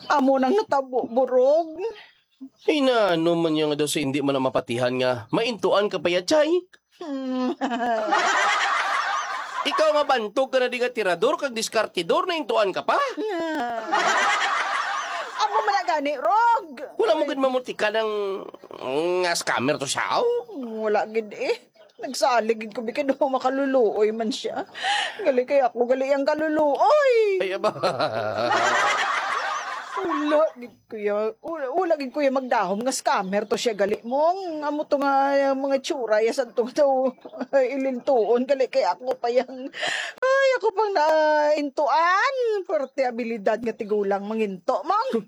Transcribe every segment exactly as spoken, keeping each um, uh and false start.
Amo nang natabo, Burog. Ay, na, ano man niya nga daw sa hindi man ang mapatihan nga maintuan ka pa ya, Chay? Hmm. Ikaw nga bantog ka na di nga tirador kag diskartidor, naintuan ka pa? Amo man na gani, Rog. Wala mo gid mamutika ng nga scammer to siya, oh. Wala gid eh. Nagsalig gid ko, bikid ako makaluluoy man siya. Gali kay ako, gali ang kaluluoy. Ay, aba. Wala gid kuya. Wala, wala gid kuya magdahom nga scammer to siya gali mo. Ang amo to nga, ang mga tsura, ya sa to daw ilintuon, gali kay ako pa yang, ay, ako pang naintuan. Pwerte abilidad nga tigulang manginto, mong.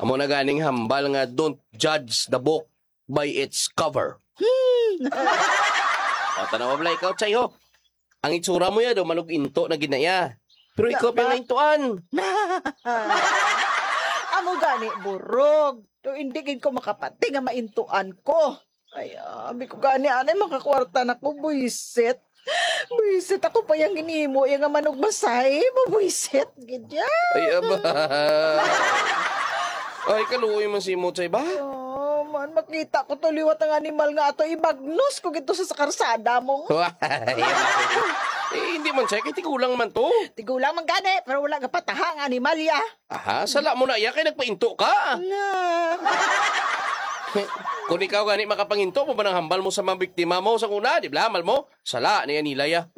Amo na ganing hambal nga don't judge the book by its cover. Hmm. O, tanawa bala ikaw, Chay, ho. Ang itsura mo ya, daw manug-into na gid na ya. Pero ikaw pa yung naintuan. Amo gani, Burog. Do hindi gid ko makapati nga maintuan ko. Ay, abi ko gani, anay makakwarta na ko, buisit. Buisit, ako pa yang ginimo, yang nga manugmasay, mabuisit gid ya. Ay, aba. Ay, kaluoy man si Motsay ba? Oh, man, makita ko to liwat ang animal nga ato, ibagnos ko gid to sa, sa karsada mo. Ay, aba. Eh, hindi man siya, kay tigulang man to. Tigulang man gani, pero wala gapataha ang animal ya. Aha, sala mo na iya kay nagpainto ka. Na. Kung ikaw gani makapanginto mo ba nang hambal mo sa mga biktima mo sa una, di ba, hambal mo? Sala ni Anilay, ah.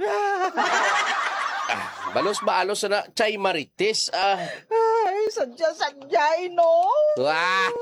Ah, balos-balos na, Chay Marites, ah. Ay, sadya-sadya, eh, no? Wah!